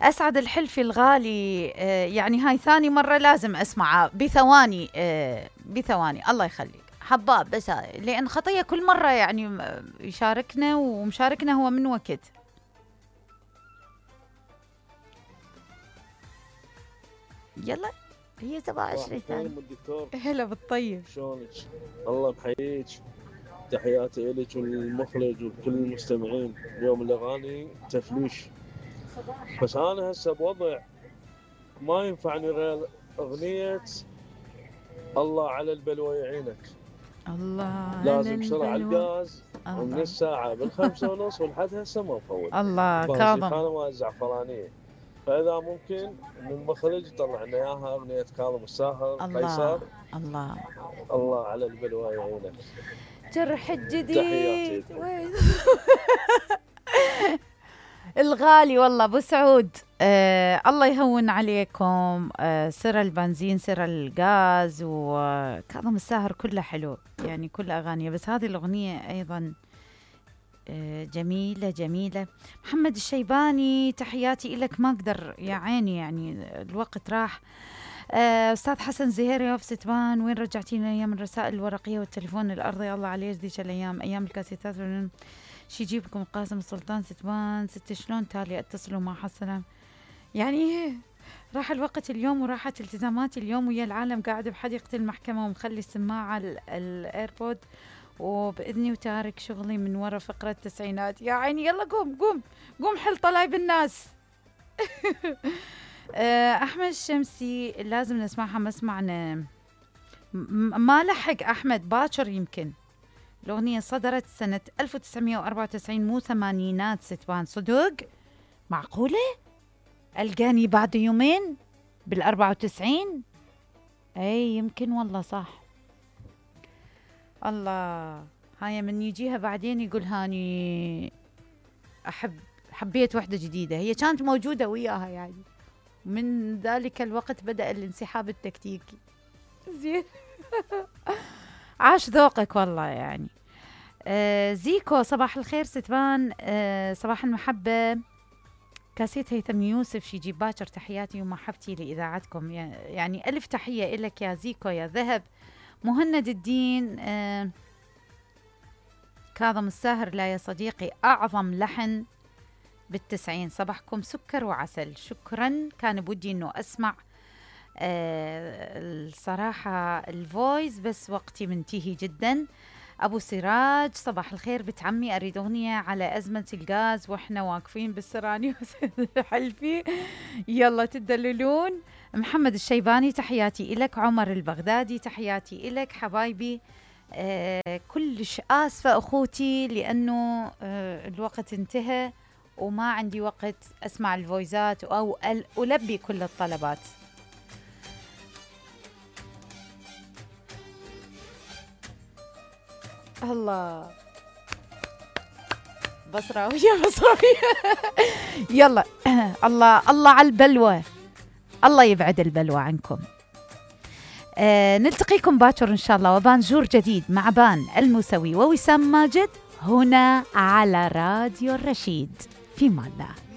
أسعد الحلفي الغالي، يعني هاي ثاني مرة لازم أسمعها بثواني، بثواني. الله يخليك حباب، بس لأن خطية كل مرة يعني يشاركنا ومشاركنا هو من وقت. يلا هي 27 ثانية. الدكتور هلا بالطيب، شلونك؟ الله بحييك، تحياتي إلك والمخرج وكل المستمعين. اليوم الأغاني تفليش، بس أنا هسه بوضع ما ينفعني غير أغنية الله على البلوى يعينك. الله لازم شرع الغاز، ومن الله الساعة 5:30 ولحد هسه ما مفوت. الله بهالشي كاظم. خانة مال الزعفرانية، فإذا ممكن من المخرج يطلع لنا إياها أغنية كاظم الساهر قيصر. الله الله على البلوى يعينك. جرح الجديد تحياتي. الغالي والله ابو سعود، الله يهون عليكم. سر البنزين سر الغاز وكاظم الساهر كله حلو يعني كل اغانيه، بس هذه الاغنيه ايضا جميله جميله. محمد الشيباني تحياتي لك، ما اقدر يا عيني يعني الوقت راح. أستاذ حسن زهيري في ستبان، وين رجعتينا أيام الرسائل الورقية والتليفون الأرضي؟ الله عليه ذيك الأيام، أيام الكاسيتات. شي يجيبكم قاسم السلطان ستبان. ست شلون تالي اتصلوا مع حسنا يعني راح الوقت اليوم وراحت التزاماتي اليوم ويا العالم، قاعد بحديقة المحكمة ومخلي السماعة الايربود وبإذني وتارك شغلي من ورا فقرة التسعينات. يا عيني يلا قوم حل طلايب الناس. أحمد الشمسي لازم نسمعها، ما سمعنا، ما لحق أحمد باكر. يمكن الأغنية صدرت سنة 1994 مو ثمانينات ستبان. صدق معقولة ألقاني بعد يومين بال94. أي يمكن والله صح. الله هاي من يجيها بعدين يقول هاني حبيت وحدة جديدة، هي كانت موجودة وياها يعني. من ذلك الوقت بدأ الانسحاب التكتيكي. زين. عاش ذوقك والله يعني. زيكو صباح الخير ستبان، صباح المحبة. كاسيت هيثم يوسف شي جيب باكر، تحياتي ومحبتي لإذاعتكم، يعني ألف تحية إلك يا زيكو يا ذهب. مهند الدين، كاظم الساهر لا يا صديقي أعظم لحن بالتسعين، صباحكم سكر وعسل. شكرا، كان بودي انه اسمع الصراحة الفويس بس وقتي منتهي جدا. ابو سراج صباح الخير بنت عمي، اريد اغنية على ازمة الغاز واحنا واقفين بالسراني حلفي يلا تدللون. محمد الشيباني تحياتي إلك. عمر البغدادي تحياتي إلك حبايبي. كلش آسفة أخوتي لأنه الوقت انتهى وما عندي وقت أسمع الفويزات أو ألبي كل الطلبات. الله بصراوية يلا. الله على البلوى، الله يبعد البلوى عنكم. نلتقيكم باكر إن شاء الله وبانجور جديد مع بان الموسوي ووسام ماجد هنا على راديو الرشيد. في امان الله.